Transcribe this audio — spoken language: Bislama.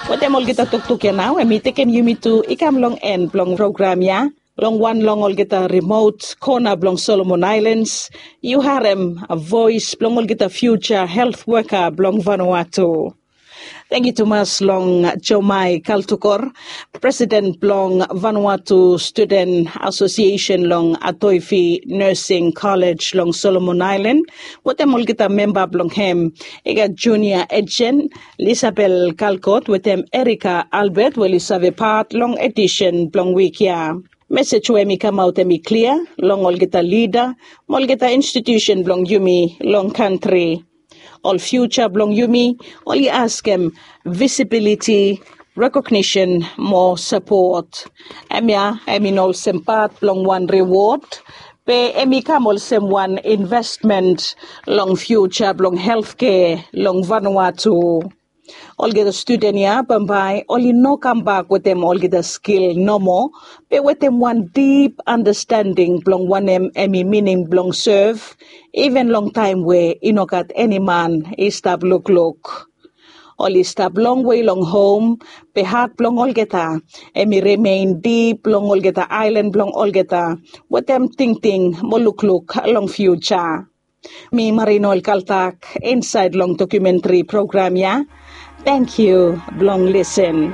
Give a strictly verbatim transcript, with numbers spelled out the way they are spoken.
Wetem olgeta toktok ya nao, em i tekem yumi tu i kam long en blong program ya. Long wan long olgeta rimot kona blong Solomon Ailens, yu harem voes blong olgeta fiuja helt woka blong Vanuatu. Tangkiu tumas long Jomai Kaltukor, presiden blong Vanuatu Studen Asosiesen long Atoifi Nursing Kolej long Solomon Ailan, wetem olgeta memba blong hem, i gat Junia Ejen, Lisabel Kalkot wetem Erika Albert we oli save pat long edisen blong wik ya. Mesej we hem i kamaot hem i klia long olgeta lida mo olgeta institiusen blong yumi long kantri. Ol fiuja blong yumi oli askem visibiliti, rekognisen mo sapot. Hemia hem i no olsem pat blong wan riwod, be hem i kam olsem wan investment long fiuja blong heltkea long Vanuatu. Olgeta studen ya bambae oli no kambak wetem olgeta skil nomo, be wetem wan dip andastending blong wanem hem i mining blong sev, iven long taem we i no gat eni man i stap lukluk. Oli stap longwe long hom, be hat blong olgeta hem i rimen dip long olgeta aelan blong olgeta, wetem tingting mo lukluk long fiuja. Mi Marino Elkaltak insaed long dokumentri program ya. Tangkiu blong lisen.